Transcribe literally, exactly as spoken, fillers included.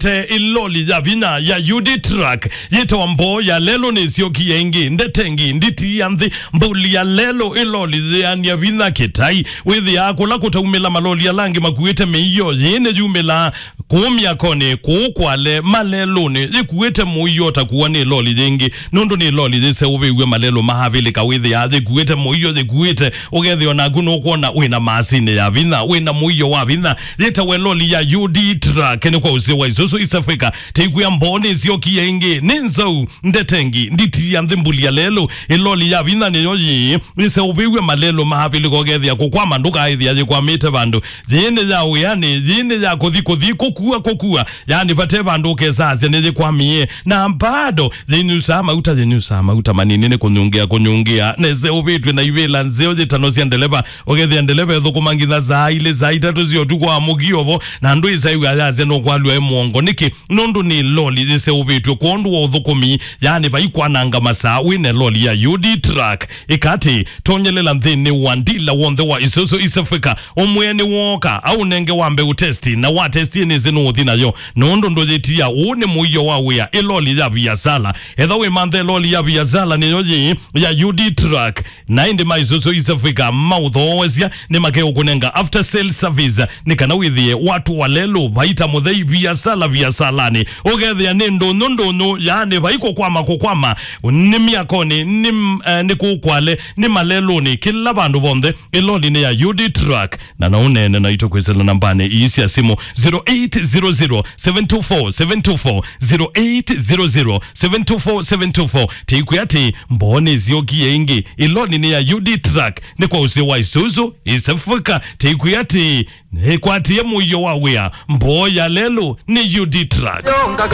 Te ĩloli ya vinya ya U D Truck yĩtawa Mboo ya Lelũ nĩsyokie ĩngĩ. Ndete ĩngĩ, nditi ya nthĩ, mbũli ya lelũ, ĩloli yĩanĩa vinya kĩtai. Wĩthĩaa kũla kũtaumĩla maloli ala angĩ makuĩte mĩio, yĩĩ nĩyumĩlaa kũu myakonĩ, kũu Kwale, malelũnĩ, yĩkuĩte mũio ũtakuwa nĩ ĩloli yĩngĩ, nũndũ nĩ ĩloli yĩseũvĩw'e malelũ ma Avilika. Wĩthĩaa yĩkuĩte mũio, yĩkuĩte, ũkethĩa o naku nũkwona wĩna masinĩ ya vinya, wĩna mũio wa vinya. Yĩtawa ĩloli ya U D Truck, nĩ kwa ũseo wa Isuzu East Africa. Tĩkwĩa Mboo nĩsyokie ĩngĩ, nĩ nzau, ndete ĩngĩ, nditi ya nthĩ, mbũli ya lelũ, ĩloli ya vinya nĩyo yĩĩ, ĩseũvĩw'e malelũ ma Avilika, ũkethĩa kũkwama ndũkaĩthĩa yĩkwamĩte vandũ. Yĩĩ nĩ ya wĩanĩ, yĩĩ nĩ ya kũthi, kũthi, kũkua, kũkua. Yaani, vate vandũ ũkesasya nĩyĩkwamie. Na bado, yĩnyusaa mauta, yĩnyusaa mauta manini nĩ kũnyungĩa, kũnyungĩa. Nĩseũvĩtw'e na ivĩla nzeo yĩtano sya ndeleva. Ũkethĩa ndeleva ethũkũma nginya saa ilĩ, saa itatũ sya ũtukũ wa mũkio vo, na ndwĩsaĩw'a yasya nũkwalw'a e mũongo. Nĩkĩ? Nũndũ nĩ loli yĩseũvĩtw'e kwondũ wa ũthũkũmi, yaani vaikwananga masaa wĩna loli ya U D Truck. Ĩka atĩ, tonyelela nthĩnĩ wa ndila w'onthe wa Isuzu East Africa, ũmwĩe nĩwooka, aũnenge wambe ũtesti, na watestie nĩsĩ nũũthi nayo, nũndũ ndũyĩtia. Ũũ nĩ mũio wa wĩa, ĩloli ya viasala. Etha wĩmanthe ĩloli ya viasala nĩyo yĩĩ ya U D Truck, na ĩndĩ ma Isuzu East Africa maũthoosya nĩmakeũkũnenga after sale service, nĩ kana wĩthĩe watu wa lelũ, vaita mũthei, viasala viasalanĩ. Ũkethĩa nĩ ndũnyũ ndũnyũ, yaani vai kũkwama kũkwama, nĩ myakonĩ, nĩ, eh, nĩ kũu Kwale, nĩ malelũnĩ, kĩla vandũ vonthe, ĩloli nĩ ya U D Truck. Na no ũneene naitũ kwĩsĩla nambanĩ ii sya simũ, zero eight zero zero, seven two four, seven two four, zero eight zero zero, seven two four, seven two four. Tĩkwĩa atĩ, Mboo nĩsyokie ĩngĩ, ĩloli nĩ ya U D Truck, nĩ kwa ũsĩ wa Isuzu East Africa. Tĩkwĩa atĩ, nĩkwatie mũio wa wĩa, Mboo ya lelũ nĩ U D Truck.